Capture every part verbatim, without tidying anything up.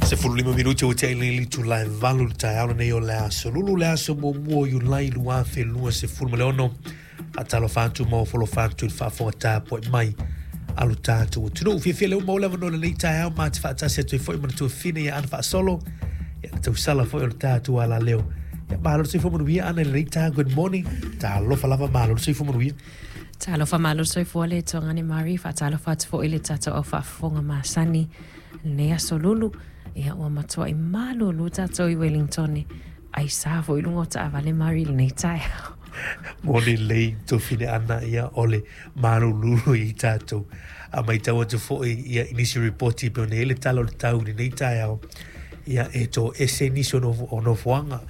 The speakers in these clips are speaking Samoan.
Sefulu lima minute ua tea i le itula e valu i le taeao lenei o le aso Lulu, le aso muamua o Iulai lua afe lua sefulu ma le ono. Faatalofa atu ma ofo atu i le faafofoga tapuai mai a lo tatou atunuu. Fiafia lea ua maua le avanoa i lenei taeao ma te faatasi atu ai foi ma le tuafafine ia Ana Faasolo, ia le tausala foi o le tatou alaleo. Ia malo le soifua manuia, Ana, i lenei taeao. Good morning, talofa lava, malo le soifua manuia. Talofa, malo le soifua le tuagane Mari, faatalofa atu foi i le tatou au faafofoga masani lenei aso Lulu. Ia ua matuai malulu tatou i Wellington. Ai sa foi luga o taavale Mari lenei taeao. Moni lelei, tuafafine Ana, ia o le malulu i tatou. A matau atu foi ia i nisi ripoti pe ona i le tala o le tau i lenei taeao, ia e toese nisi o nofo- o nofoaga,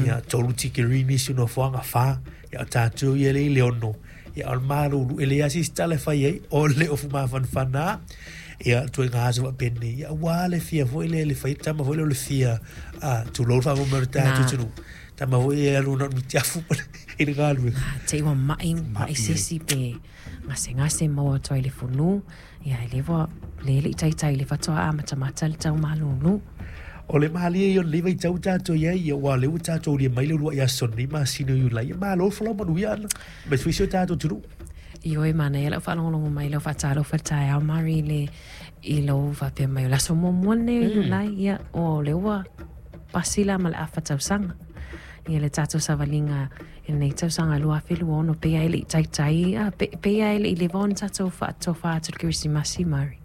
ia tolu tikeri nisi o nofoaga fa, ia o tatou ia le i le ono, ia o le malulu e leai lava se isi tala e fai ai o le ofu mafanafana. Ia tuaiga aso faapenei, ia ua le fia foi le le fai tama foi le o le fia a tulou le faamoemoe o le tatou atunuu, tama foi e alu na o le mitiafu i le galuega. Te ua mai, mai sesi pe gasegase maua atu ai le funu. Ia e le ua le le i taitai le faatoa amatamata le tau malulu. O le malie ia o lenei vaitau tatou i ai, ia ua lea ua tatou aulia mai le uluai aso lenei masina o Iulai. Ia malo le folau manuia, Ana, ma foi si o tatou atunuu. Ioe, manaia lau faalogologo mai lau faatalofa le taeao Mari i le i lou faapea mai o le aso muamua lenei o Iulai. Ia o lea ua pasi la ma le afa tausaga. Ia le tatou savaliga i lenei tausaga lua afe lua ono pe ai le i taitai a pe, pe ai le i leva ona tatou faatofa atu le Kerisimasi Mari.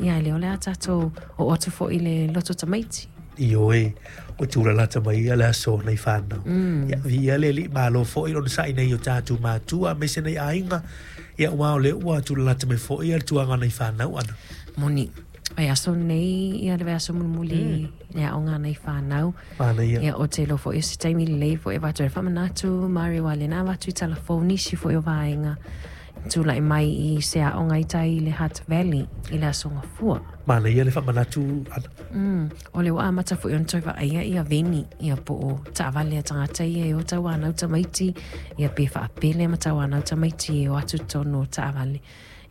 Ia e le o le a tatou oo atu foi i le loto tamaiti. Ioe, ua tulalata mai ia le aso nai fanau. Ia viia le Alii, malo foi lona sa'i nei o tatou matua aemaise nei aiga. Ia ua o lea ua tulalata mai foi ia le tuaga nai fanau, Ana. Moni. Ai aso nei ia le vaiaso mulimuli le aoga nai fanau. Manaia. Ia o te iloa foi o se taimi lelei foi e avatu ai le faamanatu Mari aua lena avatu i talafou nisi foi o vaega tulai mai i se aoga i tai i le Hutt Valley i le aso Gafua. Manaia le faamanatu, Ana. Mm, o le ua amata foi ona toe vaaia ia veni ia po o taavale a tagata ia e o tauanau tamaiti ia pe faapele ma tauanau tamaiti e o atu totonu o taavale.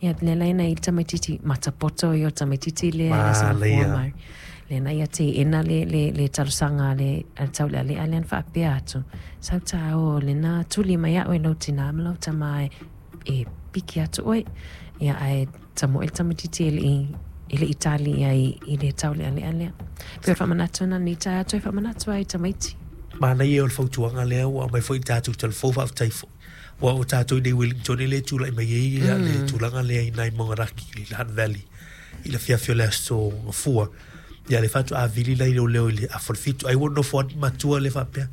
Ia le laina i le tamaititi matapoto ia o tamaititi lea i le aso Gafua Manaia. Mari. Lena ia teena le, le, le talosaga a le, a le taulealea lea na faapea atu. Sau tāo lena tuli mai au e lau tinā ma lau tamā e, e piki atu oe. Ia ae tamoe le tamaititi e lei e le itali ia i, i le taulealea lea. Pe o le faamanatu na ni tae atu e faamanatu ai tamaiti. Manaia o le fautuaga lea ua aumai foi i tatou talafou, faafetai foi. Ua o tatou i nei Wellington e le tulai mai ai ia le tulaga lea i nai Maungaraki i le Hutt Valley i le afiafi o le aso Gafua. Ia le faatoa vili lai leoleo i le afa o le fitu. Ai ua nofo atu matua le faapea.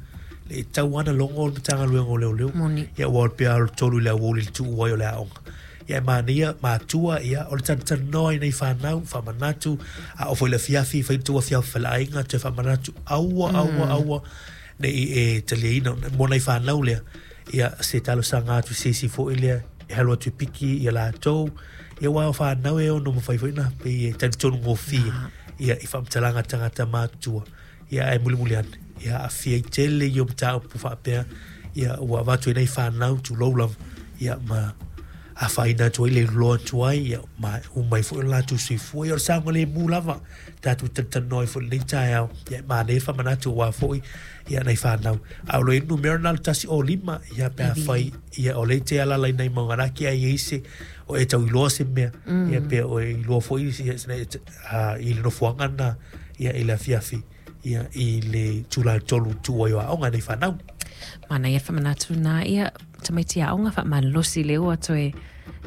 Le tau ana logo o le Matagaluega o Leoleo. Moni. Ia ua o le pea o le tolu i le aoauli le tuu ai o le aoga. Ia e manaia matua ia o le talatalanoa i nei fanau, faamanatu, a oo foi i le afiafi, fai tou afiafi faleaiga, toe faamanatu, aua, aua, aua, ne i e taliaina mo nai fanau lea. Ia se talosaga atu i se isi foi lea, e alu atu i piki ia latou, ia ua o fanau e ono mafai foi na pei e talitonu gofie, ia i faamatalaga a tagata matutua. Ia ae mulimuli ane, ia aafia ai tele ia o mataupu faapea, ia ua avatu ai nai fanau, tulou lava, ia ma afaina atu ai le iloa atu ai, ia ma umai foi o le latou soifua. Ia o le saogalemu lava, tatou talatalanoa ai foi i lenei taeao, ia e manaia le faamanatu aua foi ia nai fanau. A o lo o i ai le numera na o le tasi o lima, ia pe afai, ia o lea e te alaala i nai Maungaraki ai i ai se o e tau iloa se mea, ia pe o e iloa foi ia, a, i le nofoaga na, ia i le afiafi, ia i le itula e tolu tuu ai o aoga nei fanau. Manaia le faamanatu na ia tamaiti aoga faamalolosi le ua toe,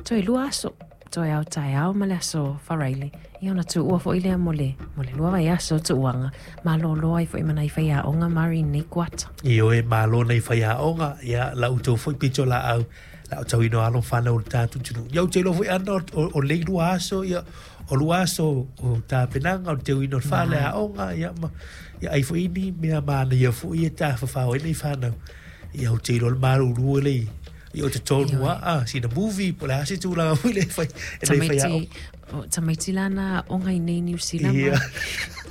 toe lua aso. Toe ao taeao ma le aso Faraile. Ia ona tuua foi lea mo le, mo le lua vaiaso tuuaga. Malolo ai foi ma nai faiaoga Mari nei kuata. Ioe, malo nei faiaoga, ia la outou foi pito laau, la o tauina o alo ma fanau o le tatou atunuu. Ia ou te iloa foi, Ana, o, o, o lei lua aso, ia, o lua aso o tapenaga, o le teuina o le fale aoga, ia, ma, ia ai foi ni mea manaia foi e tafafao ai nei fanau. Ia ou te iloa le malulu e lei, ia o te tonu a, a, sina movie, po o le a se tulaga foi le fai, e nei faiaoga. Tamaiti, o, tamaiti lana aoga i nei New Zealand. Ia. Ma.